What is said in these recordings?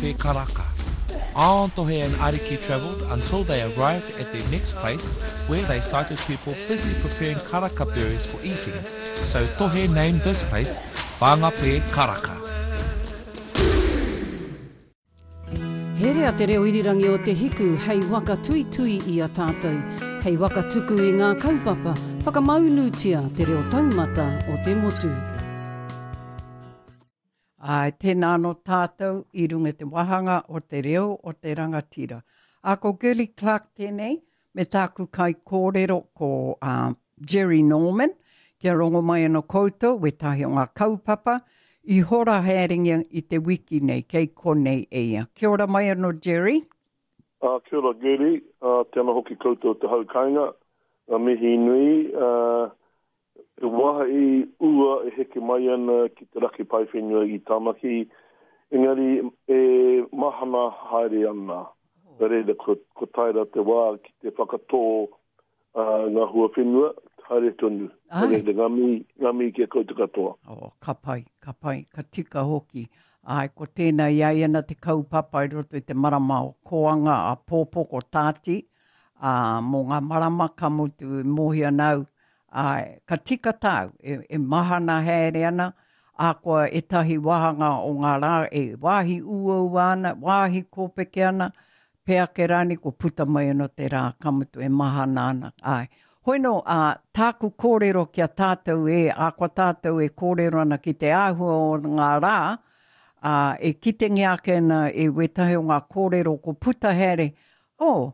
Te Karaka. Aontohe and Ariki travelled until they arrived at their next place where they sighted people busy preparing karaka berries for eating, so Tohe named this place Whangape Karaka. Herea te reo irirangi o Te Hiku hei waka tuitui i a tātou, hei waka tuku i ngā kaupapa, whakamaunutia te reo taumata o te motu. Āe, tēnā anō tātou i runga i te wāhanga o te reo o te rangatira. Ā, ko Girlie Clarke tēnei, me tāku kaikōrero ko uh, Jerry Norman, kia rongo mai anō koutou wētahi o ngā kaupapa i hora haerengia i te wiki nei, kei konei e ia. Kia ora mai anō, Jerry. Ā, kia ora Girlie, ā, tēnā hoki koutou te hau kainga, ngā mihi nui, ā, He wāhi ua e heke mai ana ki te raki paewhenua i Tamaki, engari e mahana haere ana. Nā reira, ko tae rā te wā ki te whakatō ngā huawhenua, haere tonu. Nā reira, ngā mihi, ngā mihi ki a koutou katoa. Oh, ka pai, ka pai, ka tika hoki. Āe, ko tēnā i a ia ana te kaupapa i roto i te marama o Kōanga a Pōpō ko Tāti, ā, mō ngā marama ka mutu e mōhio ana au, Āe, ka tika tāu, e, e mahana haere ana, ahakoa ētahi wāhanga o ngā rā e wāhi uaua ana, wāhi kōpeke ana, pea ake rānei kua puta mai anō te rā, ka mutu e mahana ana, āe. Hoi nō, ā, tāku kōrero ki a tātou e, ahakoa tātou e kōrero ana ki te āhua o ngā rā, ā, e kitengia ake ana e wētahi o ngā kōrero ko puta haere, oh,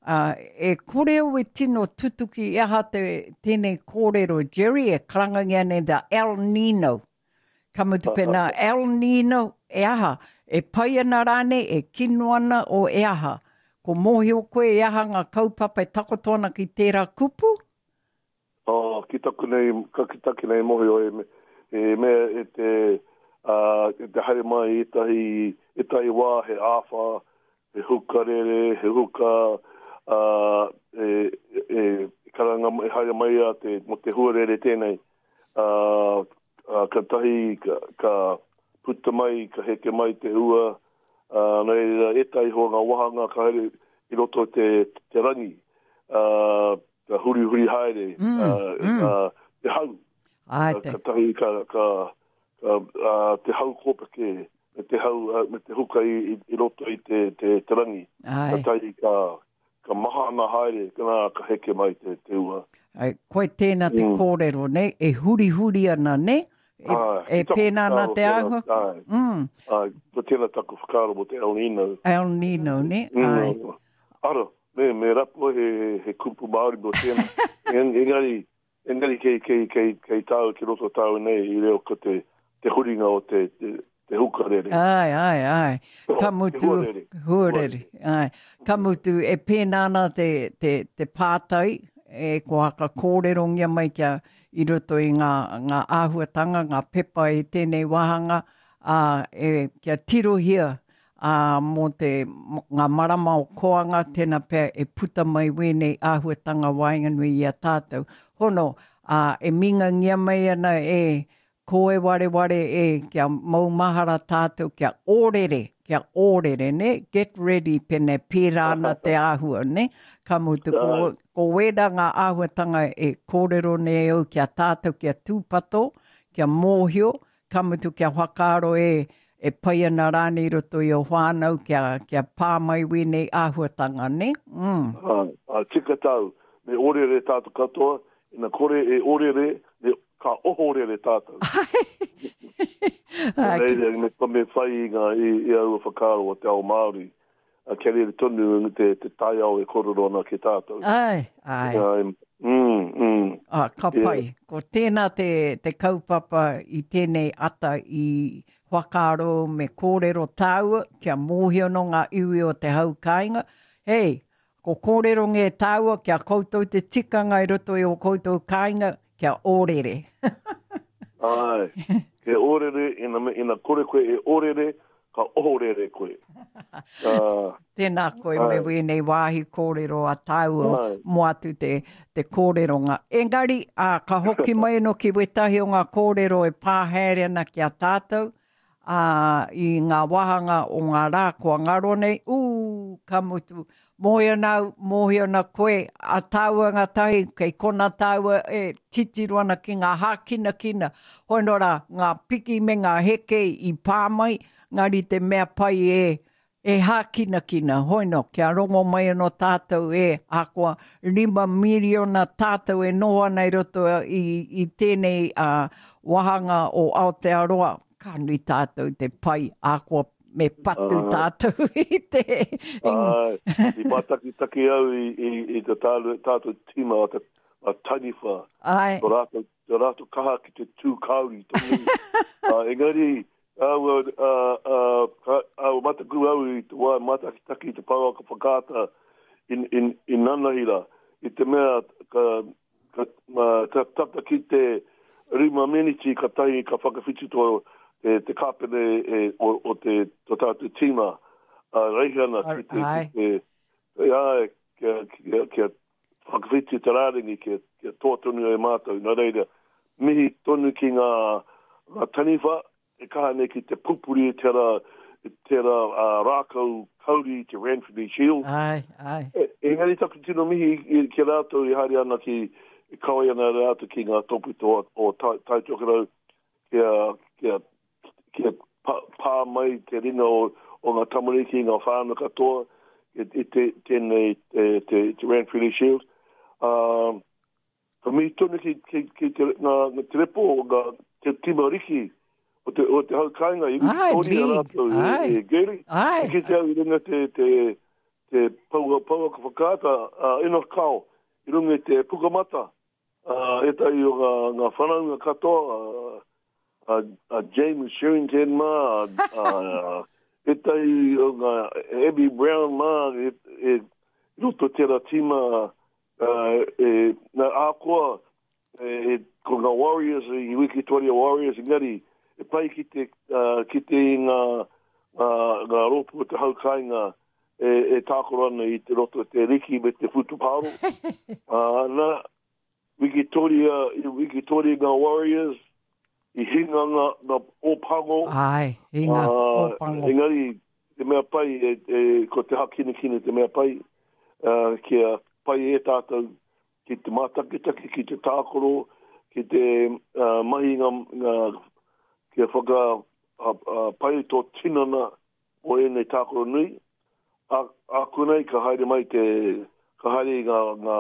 Ā, e kore au e tino tutuki i aha te, tēnei kōrero, Jerry, e karangangia nei the El Nino. Ka mutu pēnā, El Nino, e aha? E pai ana rānei, e kino ana, o e aha? Ko mōhio koe e aha ngā kaupapa e takoto ana ki tērā kupu? Oh, ki taku nei, ka ki taku nei mohio e, e mea e te, uh, e te haere mai ētahi, ētahi wā he āwhā, he hukarere, he huka, uh, e, e, karanga, e haere mai a te, mo te huarere tēnei. Uh, uh, ka tahi, ka, ka puta mai, ka heke mai te ua, uh, nā reira, ētahi hoa ngā wahanga ka haere i roto te, te rangi. Uh, ka hurihuri haere mm, uh, mm. Uh, te hau. Ai, te. Ka tahi ka, ka, ka uh, te hau kōpeke me te hau uh, me te huka i, i, i roto i te, te, te rangi. Ai. Ka tahi ka, ka mahana haere, ka, nā, ka heke mai te, te ua. Ai, koe tēnā te mm. kōrero, ne? E hurihuri ana, ne? E, Ai, e pēnā ana te āhua. Ai, mm. ai, ko tēnā taku whakaaro mo te El Nino. El Nino, ne? Mm. Ai. Ara, me, me rapu he, he kupu Māori mō tēnā. Engari, engari kei, kei, kei, kei tāu, ki roto tāu nei i reo ko te, te huringa o te, te, te hukarere. Ai, ai, ai. Ka mutu, huarere. Huarere, ai. Ka mutu, e pēnā ana te, te, te pātai, e ko haka kōrerongia mai kia i roto i ngā, ngā āhuatanga, ngā pepa i tēnei wāhanga, ā, e, kia tirohia ā, mō te, ngā marama o Koanga, tēnā pea e puta mai wēnei āhuatanga waenganui i a tātou. Hono, ā, e mingangia mai ana e kō e wareware e, kia maumahara tātou, kia ōrere, kia ōrere, nē, get ready pēnei pērā ana te āhua, nē? Ka mutu, ko, ko wērā ngā āhuatanga e kōrero nei au ki a tātou, kia tūpato, kia mōhio, Ka mutu kia whakaaro e, e pai ana rānei i roto i ō whānau kia, kia pā mai wēnei āhuatanga, nē? Mm. Āe, āe, tika tāu. Me orere tātou katoa, ina kore e orere, me, ka ohorere tātou. Āe. Reira, me, me whai i ngā, i, i aua whakaaro o te ao Māori. Kia rere tonu te, te taiao e kōrero ana ki tātou. Āe, āe. Āe, mm, mm. Ah, ka pai. Yeah. Ko tēnā te, te kaupapa i tēnei ata i whakaaro me kōrero tāua kia mōhio nō ngā iwi o te hau kāinga. Hei, ko kōrero ngē tāua kia koutou te tikanga i roto i o koutou kāinga kia ōrere. Āe, kia ōrere, ina, ina kore koe e ōrere, ka ohorere koe. Uh, Tēnā koe me wēnei wāhi kōrero a tāua mō atu te, te kōreronga. Engari, ā, ka hoki mai anō ki wētahi o ngā kōrero e pā haere ana ki a tātou, ā, i ngā wāhanga o ngā rā kua ngaro nei, ū, ka mutu, mōhio ana au, mōhio ana koe, a tāua ngātahi, kei konā tāua e titiro ana ki ngā hākinakina, hoi nō rā, ngā piki me ngā heke i pā mai, ngari te mea pai e, E hākinakina, hoino, kia rongo mai anō tātou e, ahakoa 5 miriona tātou e noho ana i roto i, i tēnei uh, wāhanga o Aotearoa, ka nui tātou te pai, ahakoa me patu tātou i te... Ai, i mātakitaki au i, i, i te tātou, tātou tīma o te a Taniwha. Ai. Tō rātou, tō rātou kaha ki te tū kauri tonu. uh, engari, Āua, ā, ā, ka, āua mataku au i te wā mātakitaki i te pouaka whakaata in, in, i nanahi rā, i te mea ka, ka, mā, ka tata ki te rima meniti katahi ka whakawhiti tō, te, te kāpene e, o, o te, tō tātou tīma, a Reihana ki te, ki te, āe, kia, kia, kia whakawhiti te rārangi kia, kia toa tonu ai mātou. Nā reira, mihi tonu ki ngā, ngā taniwha e kaha nei ki te pupuri i tērā, i tērā uh, rākau kauri i te Ranfurly Shield. Ai, ai. E, engari taku tino mihi ki a rātou i haere ana ki, i kawe ana rātou ki ngā tōpito o, o Tai, tai Tokerau kia, kia, kia pa, pā mai te ringa o, o ngā tamariki, ngā whānau katoa i, i te, tēnei, te, te, te Ranfurly Shield. Uh, ka mihi tonu ki, ki, ki te, ngā, ngā te repo, ngā, te tima riki o te, o te hau kāinga i Wikitoria rātou e, e Gary. Ai. I kite au i runga te, te, te paua, pouaka whakaata a Enoch Kao i runga i te pukamata. Uh, ētahi o ngā, ngā whanaunga katoa, a, a James Sherrington mā, a, a, ētahi o ngā Abby Brown mā, e, e, roto tērā tīma, uh, e, nā, ahakoa, e, e, ko ngā Warriors, i Wikitoria Warriors, engari, e pai ki te, uh, ki te i ngā, ngā, ngā rōpū o te hau kāinga e, e tākaro ana i te roto te riki me te whutupāro. uh, nā, Wikitoria, i Wikitoria ngā Warriors, i hinga ngā, ngā Ōpango. Ai, hinga, uh, Ōpango. Engari, te mea pai, e, e, ko te hakinakina te mea pai, uh, kia pai e tātou ki te mātakitaki, ki te tākaro, ki te uh, mahi ngā, ngā kia whaka uh, uh, pai tō tinana o ēnei tākaro nui. Ā, ākonei ka haere mai te, ka haere i ngā, ngā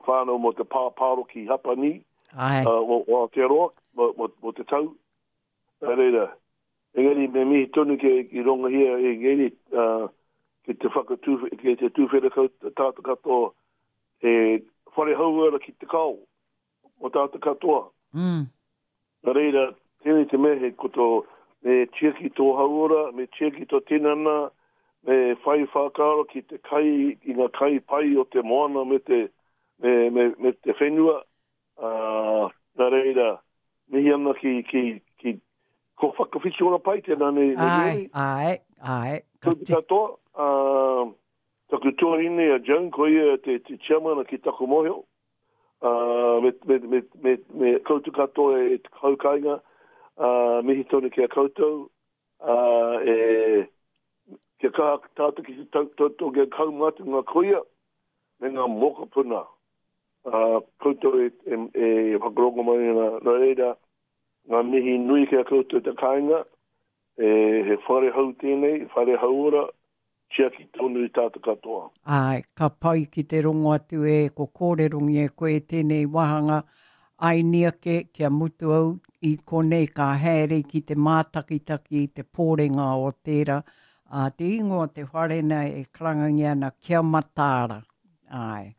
whānau mō te pāpāro ki Hapani, Āe. Uh, o, o Aotearoa, mō, mō, mō te tau. Nā reira, engari me mihi tonu ki, ki rongohia e ngēri, uh, ki te whakatū, ki te tūwhera kau tātou katoa, he whare hauora ki te kao, o tātou katoa. Mm. Nā reira, tēnei te mea he ko tō, me tiaki tō hauora, me tiaki tō tinana, me whai whakaaro ki te kai, i ngā kai pai o te moana me te, me, me, me te whenua. Ā, nā reira, mihi ana ki, ki, ki, ko whakawhiti ora pai tēnā nei, nei Āe, āe, āe. Ka te katoa, ā, taku tuahine a Joan, ko ia te, te chairman ki taku mōhio. Uh, me, me, me, me, me koutou katoa e te hau kāinga, uh, mihi tonu ki a koutou, uh, e, kia kaha tātou ki te tautoko kia kaumātua ngā kuia me ngā mokopuna. Uh, koutou e, e, e whakarongo mai ana, nā reira, ngā mihi nui ki a koutou te kāinga, e, he whare hou tēnei, whare hauora, tiaki tonu i tātou katoa. Āe, ka pai ki te rongo atu e ko kōrerongia e koe tēnei wāhanga aini ake kia mutu au i konei ka haere ki te mātakitaki i te pōrenga o tērā, ā, te ingoa o te whare nei e karangangia ana Kia Mataara. Āe.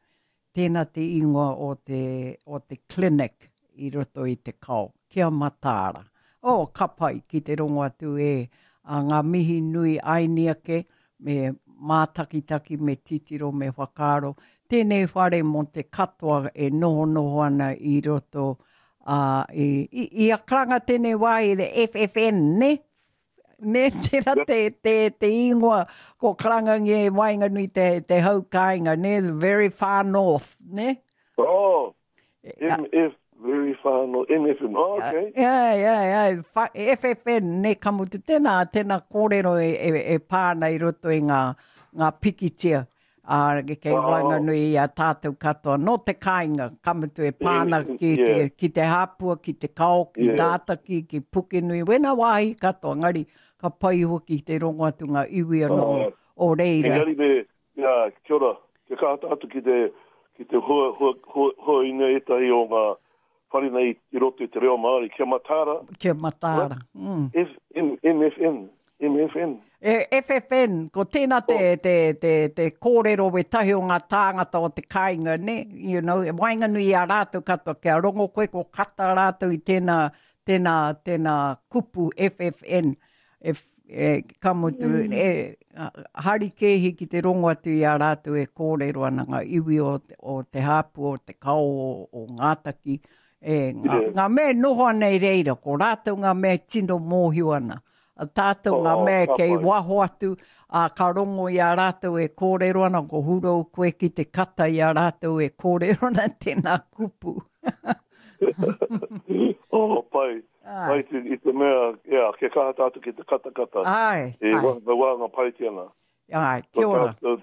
Tēnā te ingoa o te, o te clinic i roto i te kao. Kia mataara. Oh, ka pai ki te rongo atu e a ngā mihi nui aini ake, me mātakitaki, me titiro, me whakaaro. Tēnei whare mō te katoa e nohonoho ana i roto uh, i, i, i a karanga tēnei wā i the FFN, ne? Ne, tērā te, te, te ingoa ko karangangia e waenganui te, te hau kāinga, ne? The very far north, ne? Oh, MF. Very far north, MFN, oh, okay. Ai, ai, ai, wha, FFN, ne, ka mutu, tēnā, tēnā kōrero e, e, e pā ana i roto i ngā, ngā pikitia, ā, kei oh. waenganui i a tātou katoa. Nō te kāinga, ka mutu e pā ana ki, yeah. te, ki te hāpua, ki te kao, ki yeah. Ngātaki, ki Pukenui, wena wāhi katoa, ngari, ka pai hoki te rongo atu ngā iwi anō oh. o reira. Engari me, Jā, kia ora. Kia kaha tātou ki te, ki te hua, hua, hua, huaina ētahi o ngā whare nei i roto i te reo Māori. Kia mataara. Kia mataara. Mm. F, M, MFN. MFN. E, FFN, ko tēnā te, oh. te, te, te kōrero wētahi o ngā tāngata o te kāinga, ne? You know, e waenganui i a rātou katoa, kia rongo koe ko kata rātou i tēnā, tēnā, tēnā kupu FFN. E, e, ka mutu, mm. e, harikēhi ki te rongo atu i a rātou e kōrero ana ngā iwi o, o te hāpu, o te kao, o, o Ngātaki, e, ngā, yeah. ngā mea e noho ana i reira, ko rātou ngā mea e tino mōhio ana. A tātou ngā oh, mea kei waho atu, a ka rongo i a rātou e kōrero ana, ko hurou koe ki te kata i a rātou e kōrero ana tēnā kupu. oh, pai. Ai. Pai te, i te mea, yeah, kia kaha tātou ki te katakata. Ai, e, ai. E wā ngā pai te ana. Ai, kia ora. Tō,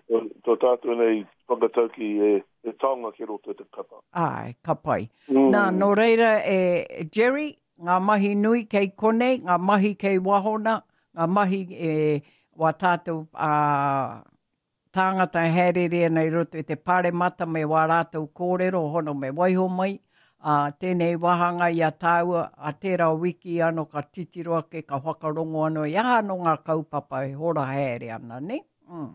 tō tātou nei whakatauki e, e taonga ki roto i te kata. Ai, ka pai. Mm. Nā, nō reira, e, Jerry, ngā mahi nui kei konei, ngā mahi kei wahona, ngā mahi e wā tātou a, tāngata e haereere ana i roto i te Pāremata me wā rātou kōrero hono me waiho mai, ā, tēnei wāhanga i a tāua, ā tērā wiki anō ka titiro ake, ka whakarongo anō i aha anō ngā kaupapa e hora haere ana, nē? Mm.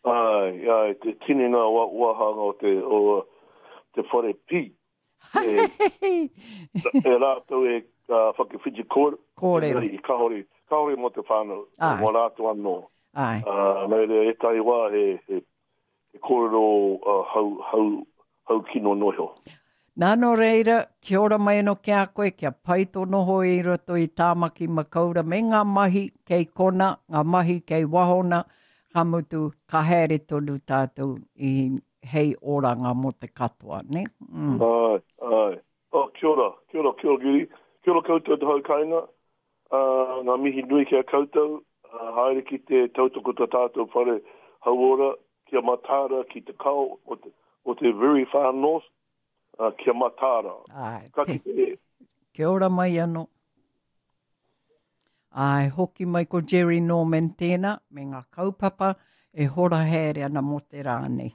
Āe, āe, te tini ngā wāhanga o te, o te whare pī. E, e rātou e uh, whakawhiti kōrero. Kōrero. Engari, kāore, kāore mō te whānau, Āe. mō rātou anō. Āe. Uh, nā reira, ētahi wā he, he, he kōrero uh, hau, hau, hau kino noa iho. Nā, nō reira, kia ora mai anō ki a koe, kia pai tō noho i roto i Tāmaki Makaura me ngā mahi kei kona, ngā mahi kei wahona, ka mutu, ka haere tonu tātou i hei oranga mō te katoa, nē? Mm. Āe, āe. Oh, kia ora, kia ora, kia ora, Giri. Kia ora koutou te hau kāinga. Uh, ngā mihi nui ki a koutou. Uh, haere ki te tautoko tā tātou whare hauora, kia mataara ki te kao o te, o te very far north, uh, kia mataara. Āe, Ka kite e. Kia ora mai anō. Āe, hoki mai ko Jerry Norman tēnā, me ngā kaupapa e hora haere ana mō te rā nei.